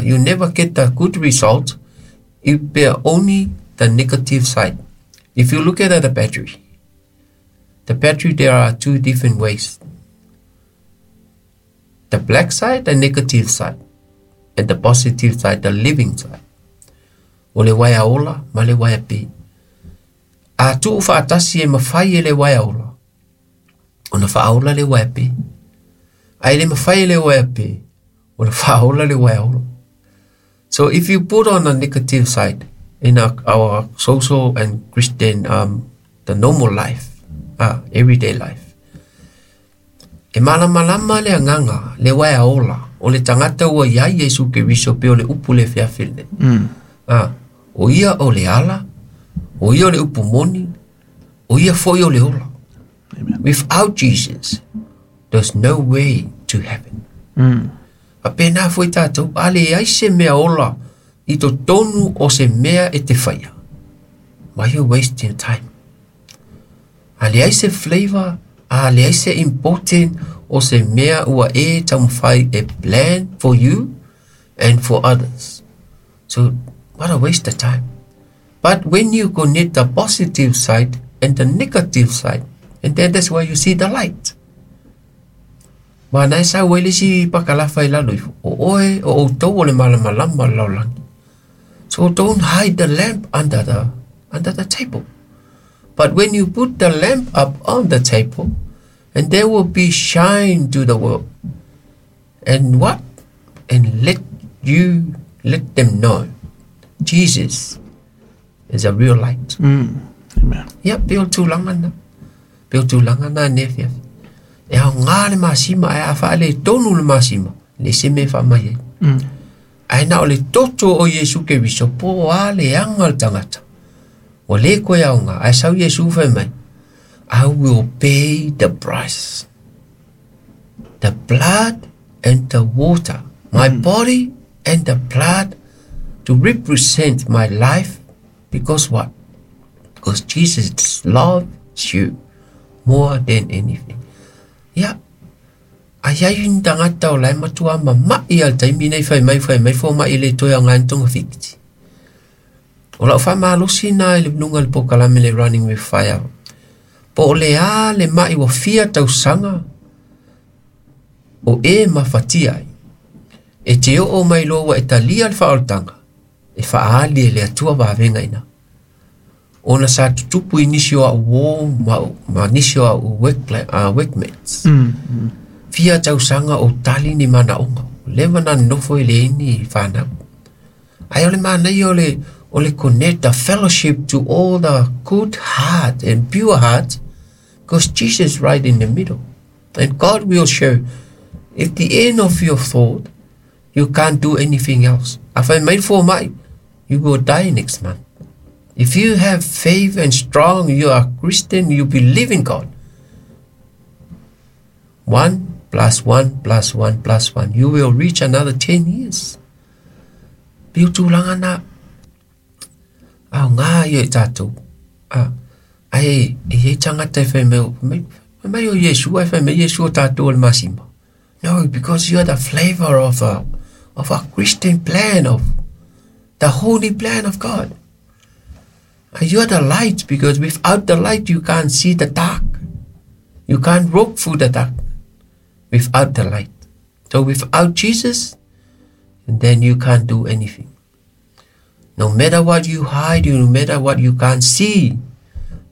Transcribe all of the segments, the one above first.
You never get the good result if they're only the negative side. If you look at the battery, there are two different ways. The black side, the negative side, and the positive side, the living side. O le waea ola ma le waea pe. A tuu faatasi e mafai e le waea ola, ona faaola le waea pe. A e le mafai e le waea pe, ona faaola le waea ola. So if you put on the negative side in our social and Christian, the normal life, everyday life, e malamalama le agaga, le waea ola, o le tagata ua iai Iesu Keriso pe o le upu le feafe lenei. O ia o le ala, o ia o le upu moni, o ia foi o le ola. Amen. Without Jesus, there's no way to heaven. A pēnā foi tātou, a leai se mea ola i totonu o se mea e te whaia. Why you wasting time? A leai se flavor, a leai se important o se mea ua e taumafai e plan for you and for others. So, what a waste of time. But when you connect the positive side and the negative side, and then that's where you see the light. Ma nai sa ua le isi pakalafa i lalo ifo. O oe, o outou o le malamalama o le lalolagi. So don't hide the lamp under the table. But when you put the lamp up on the table, and there will be shine to the world. And what? And let them know Jesus is a real light. Amen. Ia, pe o le tulaga lena. Pe o le tulaga lena ne afiafi. E aoga le masima, ae a faaletonu le masima, le se mea e faamai ai. Ae na o le toto o Iesu Keriso, po o a le aga o le tagata. Ua le koe aoga, ae sau Iesu fai mai, I will pay the price. The blood and the water. My body and the blood to represent my life. Because what? Because Jesus loves you more than anything. Ia, a iai ni tagata o la e matua mama'i a le taimi nei fai mai fai mai foma'i e le toe aoga ni togafiti. O lau faamalosi na i le luga o le polokalame le Running with Fire. Po o le a le ma'i ua fia tausaga o e mafatia ai. E te oo mai loa ua e talia le faaolataga, e faaali e le Atua vavega ina. Ona sa tutupu i nisi o au uō ma nisi o au workmates. Fia tausaga o tali ni manaoga. O leva na nofo i le ini whanau. Ae o le manaia o le connect the fellowship to all the good heart and pure heart, because Jesus is right in the middle. And God will show if the end of your thought, you can't do anything else. A fai mai foma'i, you will die next month. If you have faith and strong, you are Christian, you believe in God. 1 plus 1 plus 1 plus 1, you will reach another 10 years. Pe o tulaga na aoga ia i tatou. Ae e iai tagata e fai mai, mai, fai mai o Iesu, ae fai mai Iesu o tatou o le masima. No, because you are the flavor of a Christian plan, of the holy plan of God. And you are the light, because without the light you can't see the dark. You can't walk through the dark without the light. So without Jesus, then you can't do anything. No matter what you hide, no matter what you can't see,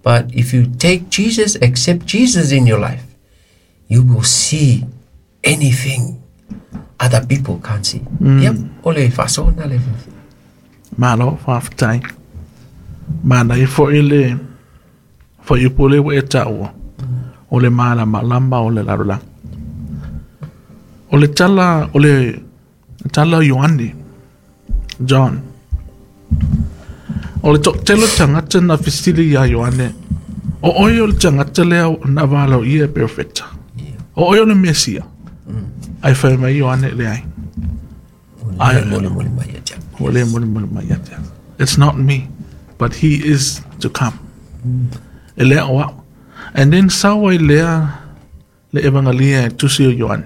but if you take Jesus, accept Jesus in your life, you will see anything other people can't see. Yep, o le faasona le. Malo, faafetai. Manaia foi le fuaiupu lea ua e taua. O le malamalama o le lalolagi. O le tala, o le tala o Ioane, John. O le toatele o tagata na fesili iā Ioane, o oe o le tagata lea na valaaulia e perofeta. O oe o le Mesia. Ae fai mai Ioane e leai. Ai molimoli mai ia te au. Ua le molimoli mai ia te au. It's not me, but he is to come. E le o au. And then sau ai lea le evangalia e tusi o Ioane.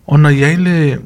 Ona iai le